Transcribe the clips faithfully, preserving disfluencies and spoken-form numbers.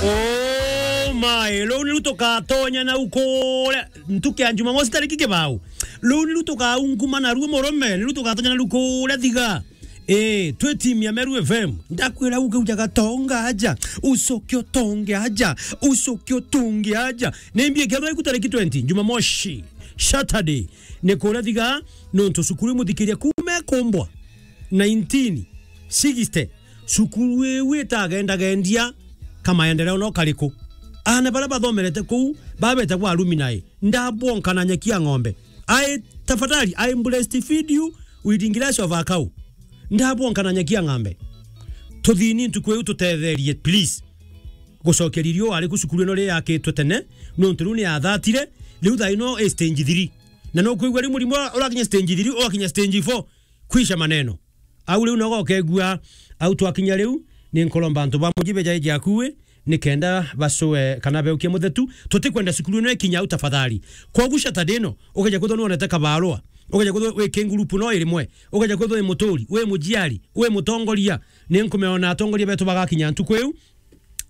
Oh my, riu niru tukatonya nau kuria ntuku ya Jumamosi tariki kibao. Riu niru tukaunguma naruo murume, niru tukatonya naru kuria Thiga. Eh, twi timu ya Meru F M. Ndakwira uge ujaga tonga aja, ucoke utonge aja, ucoke utonge aja. Nimbie kethwa iku tariki twenty, Jumamosi, Saturday. Ni kuria Thiga, nontu cukuru imuthikiria kuuma ekumbwa nineteen sixty. Cukuru iu itagendagendia kamaendeleo no kariku. Aana baria bathomerete kuu, babetagwa alumni. Ndabwonka na nyeki ya ng'ombe. I, tafadhali, I breastfeed you with ingress of a cow. Ndabwonka na nyeki ya ng'ombe. Tuthini ntuku iu tutetherie, please. Gucokia riri o ari ku cukuru ino ri yakitwe tene, nontu riu ni yathatire, riu thaa ino i stage three. Na nukwigua riu murimo ura-, urakinya stage three, ugakinya stage four, kwisha maneno. Au riu nogo ukegua, au twakinya riu, ni nkuromba antu ba muji bejae jakui, nikenda bacue kana beukie muthetu, tutikwenda cukuru ino ikinya au tafadhali. Kwogu Saturday ino, ugeja kwithwa nuonete kabarua, ugeja kwithwa wi ki ngurupu no irimwe, ugeja kwithwa wi muturi, wi mujiari, wi mutongoria, ni nkumeona atongoria betu bagakinya ntuku iu,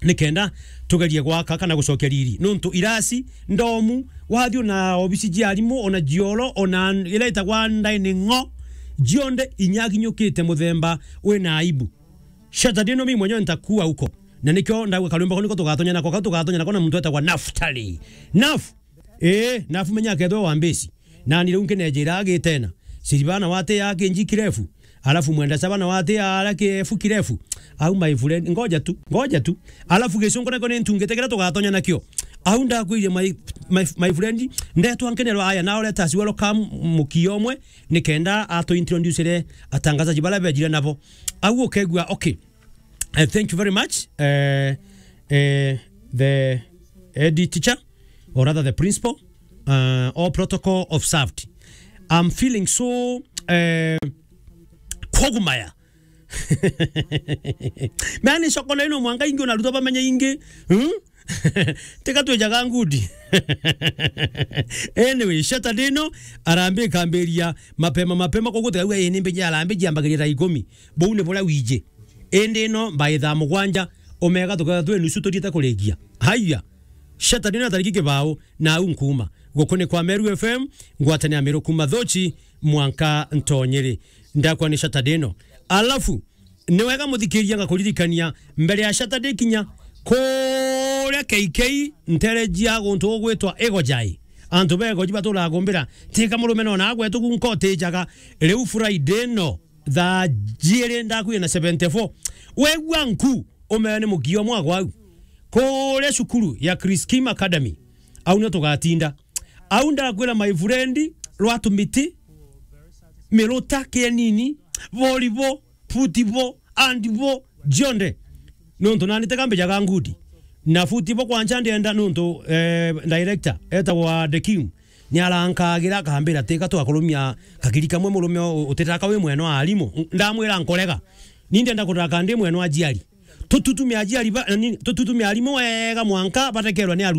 nikenda tugerie gwaka kana gucokia riri. Nontu irasi, ndomu, wathi ona obisi cia arimu, ona jioro, ona ira itagwa dining hall, jionthe inyakinyukite muthemba wina aibu. Saturday ino mi mwenyewe nitakuwa huko. Na nikio ndauga karwimbo kau niko tugatonya nako, kau tugatonya nako na muntu etagwa Naftali. Naf-, Ee, nafu menya akethwa wa mbesi. Nani riu nkinejira agitena. Silvana wate ya kinji kirefu. Alafu mwenda sabana wate ya ara kirefu kirefu. Au my friend, ngoja tu, ngoja tu. Alafu gicungu nako ni ntungite kiria tugatonya nakio. Au ndakwirie my, my, my friend, ndetwa nkenerwa aya na ureta as welcome mukio omwe, nikenda atu introducere atangazaji baria bejire nabo. Au ukegua, okay. Uh, thank you very much. Uh, uh, the head teacher, or rather the principal, uh, all protocol observed. I'm feeling so, uh, kogumaya. Mani soko na ino mwanga ingi unarutwa bamenye ingi. Hmm? Teka twejaga ngudi. Anyway, Saturday ino, arambe ikambiria mapema mapema, koguo tikaigua, "Ii, ni mbeja arambe jiambagiria thaa ikumi." Buu ni buria wiji. Indi ino mbai thaa mugwanja, omega tukethwa twi nusu turiite kurikia. Haiya. Saturday ino tariki kibao, na au nkuuma. Guku ni kwa Meru F M, ngwatanio ya Meru kuuma Thochi, mwanka Ntonyeri. Ndakwa ni Saturday ino. Alafu, ni wega muthikiria ngakuririkania, mbere ya Saturday kinya, kuria K K, ntere jia guntu gugwitwa Igojai. Antu ba Igoji baturaga kumbira, tika murume no na agwetu gunka utijaga. Riu Friday ino, thaa jiiri ndakwira na seventy-four. Wegua nku, umea ni mukio mwagwa au. Kuria cukuru ya Chris Kim Academy, au nio tugatinda. Au ndakwira my friend, rwatu miti, miruta, kienini, volleyball, football, handball, jionde. Nontu nani teka mbejaga ngudi. Na football kwanja ndienda nontu, eh, director, etagwa The King. Ni arankagira akambira, "Tika twakurumia kagiri kamwe murume u-, utitaka wi mwena wa arimu." Ndamwira, "Nkorega. Ni ndienda kutaka ndi mwena wa ajiari." Tututumia ajiari ba, ni, tututumia arimu wega mwanka batekerwa ni